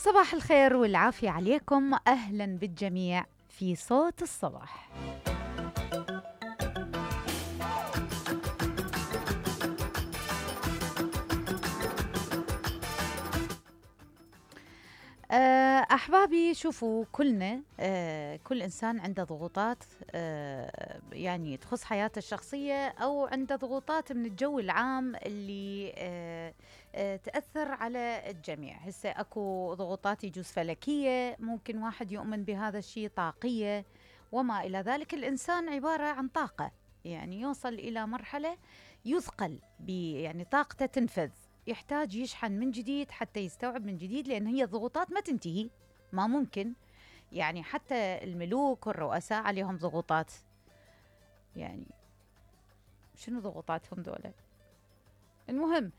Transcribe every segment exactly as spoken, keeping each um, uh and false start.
صباح الخير والعافية عليكم، أهلا بالجميع في صوت الصباح. أحبابي، شوفوا كلنا أه كل إنسان عنده ضغوطات أه يعني تخص حياته الشخصية أو عنده ضغوطات من الجو العام اللي أه أه تأثر على الجميع. هسه أكو ضغوطات يجوز فلكية، ممكن واحد يؤمن بهذا الشيء، طاقية وما إلى ذلك. الإنسان عبارة عن طاقة، يعني يوصل إلى مرحلة يثقل يعني طاقته تنفذ، يحتاج يشحن من جديد حتى يستوعب من جديد، لأن هي الضغوطات ما تنتهي، ما ممكن. يعني حتى الملوك والرؤساء عليهم ضغوطات، يعني شنو ضغوطاتهم دولة؟ المهم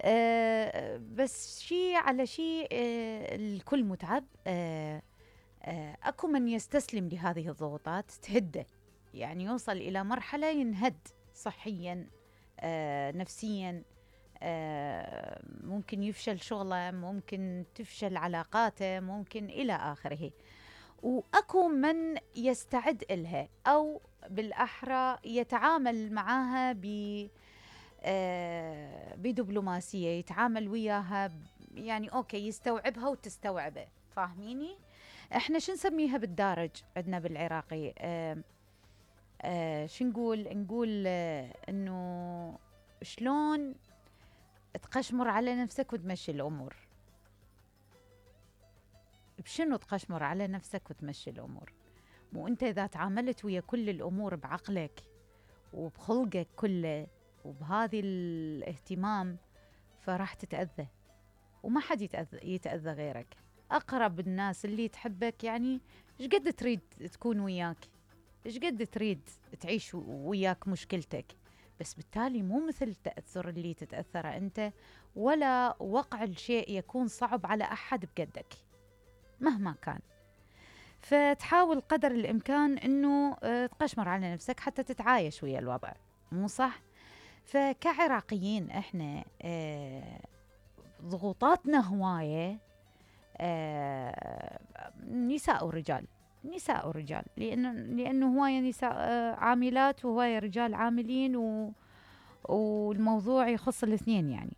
آه بس شيء على شيء، آه الكل متعب. آه آه أكو من يستسلم لهذه الضغوطات تهده، يعني يوصل إلى مرحلة ينهد صحيا آه نفسيا، آه ممكن يفشل شغله، ممكن تفشل علاقاته، ممكن إلى آخره. وأكو من يستعد إلها، أو بالأحرى يتعامل معها ب آه بدبلوماسية، يتعامل وياها يعني أوكي، يستوعبها وتستوعبه. فاهميني؟ إحنا شو نسميها بالدارج عندنا بالعراقي؟ آه آه شو نقول؟ نقول آه إنه شلون تقشمر على نفسك وتمشي الأمور. بشنو تقشمر على نفسك وتمشي الأمور؟ مو أنت إذا تعاملت ويا كل الأمور بعقلك وبخلقك كله وبهذه الاهتمام، فراح تتأذى، وما حد يتأذى, يتأذى غيرك. أقرب الناس اللي تحبك، يعني إيش قد تريد تكون وياك، إيش قد تريد تعيش وياك مشكلتك، بس بالتالي مو مثل التأثر اللي تتأثره أنت، ولا وقع الشيء يكون صعب على أحد بقدك مهما كان. فتحاول قدر الإمكان أنه تقشمر على نفسك حتى تتعايش ويا الوضع، مو صح؟ فكعراقيين إحنا ضغوطاتنا هواية، نساء ورجال، نساء ورجال، لأنه لأنه هواية نساء عاملات وهواية رجال عاملين، و والموضوع يخص الاثنين يعني.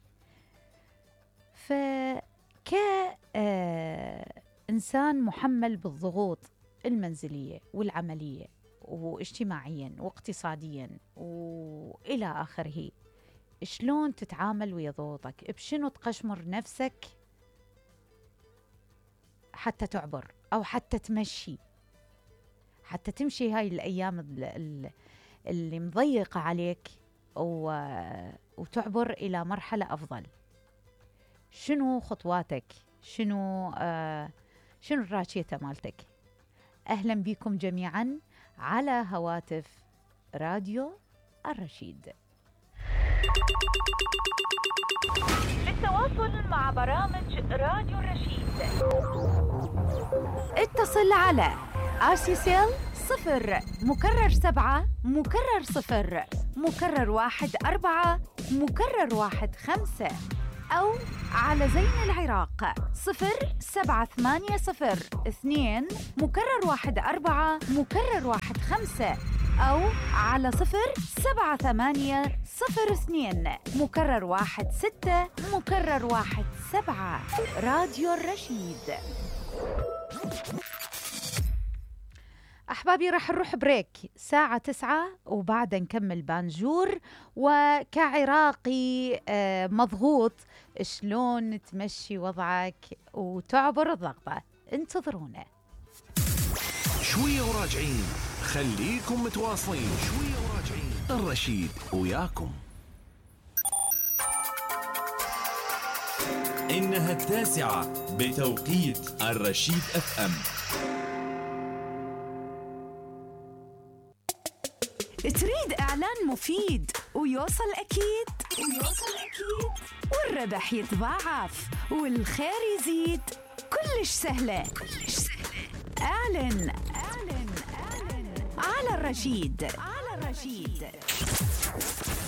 فك إنسان محمل بالضغوط المنزلية والعملية واجتماعيا واقتصاديا وإلى آخره، شلون تتعامل ويا ضغوطك؟ بشنو تقشمر نفسك حتى تعبر، أو حتى تمشي، حتى تمشي هاي الأيام اللي مضيقة عليك وتعبر إلى مرحلة أفضل؟ شنو خطواتك؟ شنو آه شنو الراشية مالتك؟ أهلا بكم جميعا على هواتف راديو الرشيد. للتواصل مع برامج راديو الرشيد اتصل على آسيسيل صفر مكرر سبعة مكرر صفر مكرر واحد أربعة مكرر واحد خمسة، أو على زين العراق صفر سبعة ثمانية صفر اثنين مكرر واحد أربعة مكرر واحد خمسة، أو على صفر سبعة ثمانية صفر اثنين مكرر واحد ستة مكرر واحد سبعة. راديو الرشيد. أحبابي، راح نروح بريك ساعة تسعة وبعد نكمل بانجور. وكعراقي مضغوط، شلون تمشي وضعك وتعبر الضغطة؟ انتظرونا شوية وراجعين، خليكم متواصلين. شوية وراجعين، الرشيد وياكم. إنها التاسعة بتوقيت الرشيد أف أم. تريد إعلان مفيد ويوصل أكيد ويوصل أكيد والربح يتضاعف والخير يزيد؟ كلش سهلة كلش سهلة. أعلن أعلن أعلن على الرشيد على الرشيد.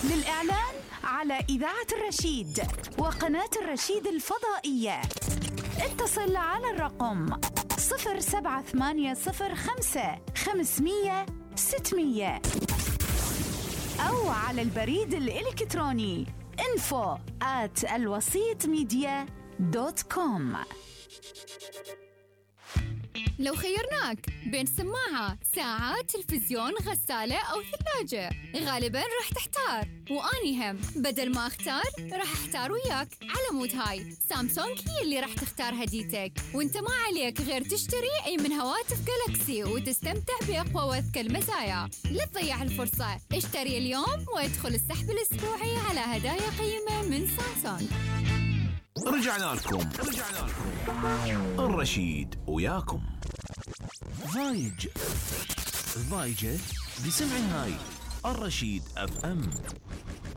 للإعلان على إذاعة الرشيد وقناة الرشيد الفضائية اتصل على الرقم صفر سبعة ثمانية صفر خمسة خمسمية ستمية أو على البريد الإلكتروني info at الوسيط ميديا دوت كوم. لو خيرناك بين سماعة، ساعة، تلفزيون، غسالة أو ثلاجة، غالباً راح تحتار، وأني هم بدل ما أختار راح أحتار وياك. على مود هاي سامسونج هي اللي راح تختار هديتك، وانت ما عليك غير تشتري أي من هواتف جالكسي وتستمتع بأقوى وأذكى المزايا. لا تضيع الفرصة، اشتري اليوم وادخل السحب الأسبوعي على هدايا قيمة من سامسونج. رجعنا لكم رجعنا لكم الرشيد وياكم. ضايج ضايجة بسمع هاي الرشيد اف ام.